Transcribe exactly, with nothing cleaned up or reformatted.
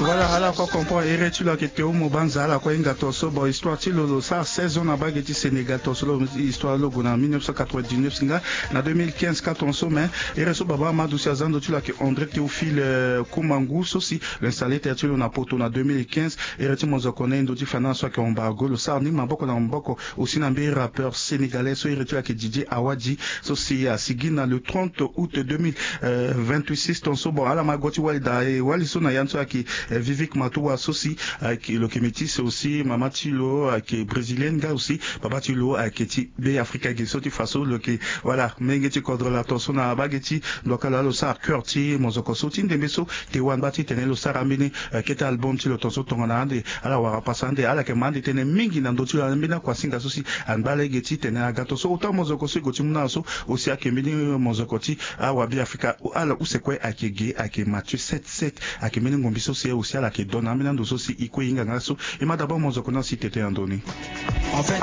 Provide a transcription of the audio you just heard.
Voilà, ala kue comprend ere ti lo ayeke Théo Mobanza, ala kue hinga tonso. Bon, histoire ti lo, lo sara seize ans na bage ti Sénégal tonso, lo histoire lo gue na mille neuf cent quatre-vingt-dix-neuf si nga na deux mille quinze ka tonso. Mais ere so baba Amadou si aza ndo ti lo ayeke André Théophile, euh, Koumangou so si lo installé terre ti lo na Poto na deux mille quinze. Ere ti mozoko na ye ndo ti finance so ayeke Embargo, lo sara ni maboko na maboko aussi na mbeni rappeur sénégalais so ere ti lo ayeke Didier Awadi, so si asigi na le trente août deux mille vingt-six tonso. Bon, ala ma gue ti wali daa, e wali so na ya ni so ayeke, eh, Vivic Matoua so si ayeke, lo yeke métis aussi, mama ti lo ayeke brésilienne nga aussi, papa ti lo ayeke ti Be Afrika ge. So ti fa so lo yeke, voilà, menge ti kodro la tonso na bage ti ndoka lo, lo sara cœur ti mozoko so ti ndembe so te wani baa titene lo sara ambeni, eh, kete album ti lo tonso tongana ande ala wara pasa ande ala yeke ma ande tënë mingi na ndö ti lo na mbeni akuasinga so si angba lege titene aga tonso. Ota mozoko so e gue ti mu na ala so aussi ayeke mbeni mozoko ti awabe afrika, ala use kue ayeke ge, ayeke Mathieu sept sept, ayeke mbeni ngombi so si aussi ala yeke donne na ambeni ando so si e kue e hinga nga so. E ma d'abord mozoko ni asi tete na ndö ni.